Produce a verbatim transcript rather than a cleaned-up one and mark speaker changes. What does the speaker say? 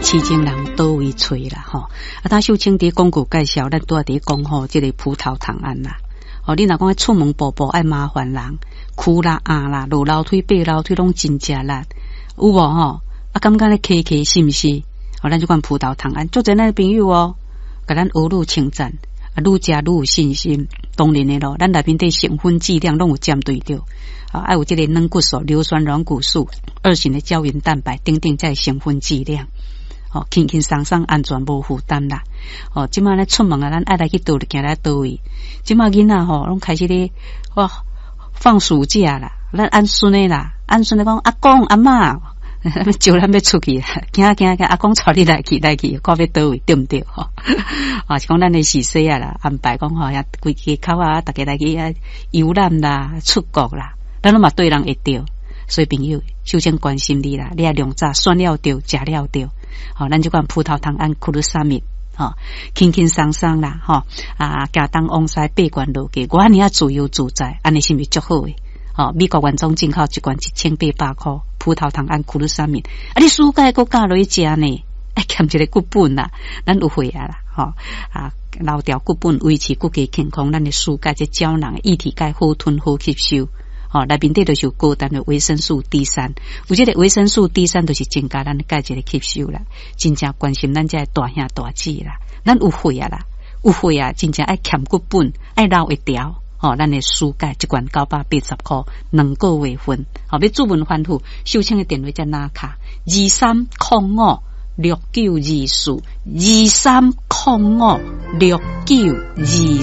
Speaker 1: 市井人佗位揣啦吼。啊，頭秀清佇廣告介紹，咱拄仔佇講吼，這個葡萄糖胺啦。哦，你若講出門步步愛麻煩人，跍啦、壓啦、落樓梯、爬樓梯攏真食力，有無吼？啊，感覺咧磕磕是毋是？哦，咱這款葡萄糖胺，足濟咱的朋友哦，共咱呵咾稱讚，啊，愈食愈有信心。當然的咯，咱內面底成分劑量攏有針對著。啊，愛有這個軟骨素、硫酸軟骨素、二型的膠原蛋白等等，這成分劑量，哦，輕輕鬆鬆、安全無負擔啦。哦，這馬咧出門啊，咱愛來去佗位，行來佗位。這馬囡仔吼，攏開始咧哇放暑假啦，咱按孫的啦，按孫的講阿公阿嬤，招咱欲出去啦，行行行，阿公帶你來去來去，看欲佗位對毋對？吼，啊是講咱的時勢啊啦，安排講吼，遐規家口啊，逐家來去遐遊覽啦，出國啦，咱攏嘛對人會著，所以朋友，首先關心你啦，你愛量早選了著，食了著，吼，咱這款葡萄糖胺 glucosamine，吼，輕輕鬆鬆啦，吼，啊，行東往西爬懸落低，我按呢仔自由自在，按呢是毋是足好的？吼，美國原裝進口一罐一千八百箍，葡萄糖胺 glucosamine，啊，你暑假閣加落去食呢？愛欠一个骨本啦，咱有會啊啦，吼啊，留牢骨本，維持骨骼健康，咱的暑假這膠囊液體鈣好吞好吸收，吼，內面底就是有高單的維生素 D 三，有這个維生素 D 三，就是增加咱鈣質的吸收啦，真正關心咱這个大兄大姊啦，咱有歲啊啦，有歲啊，真正愛欠骨本，愛留會牢。吼，咱的暑假一罐九百八十箍，兩個月份，吼，欲注文反覆，秀清的電話才拿卡，二三空五六九二四，二三空五六九二四。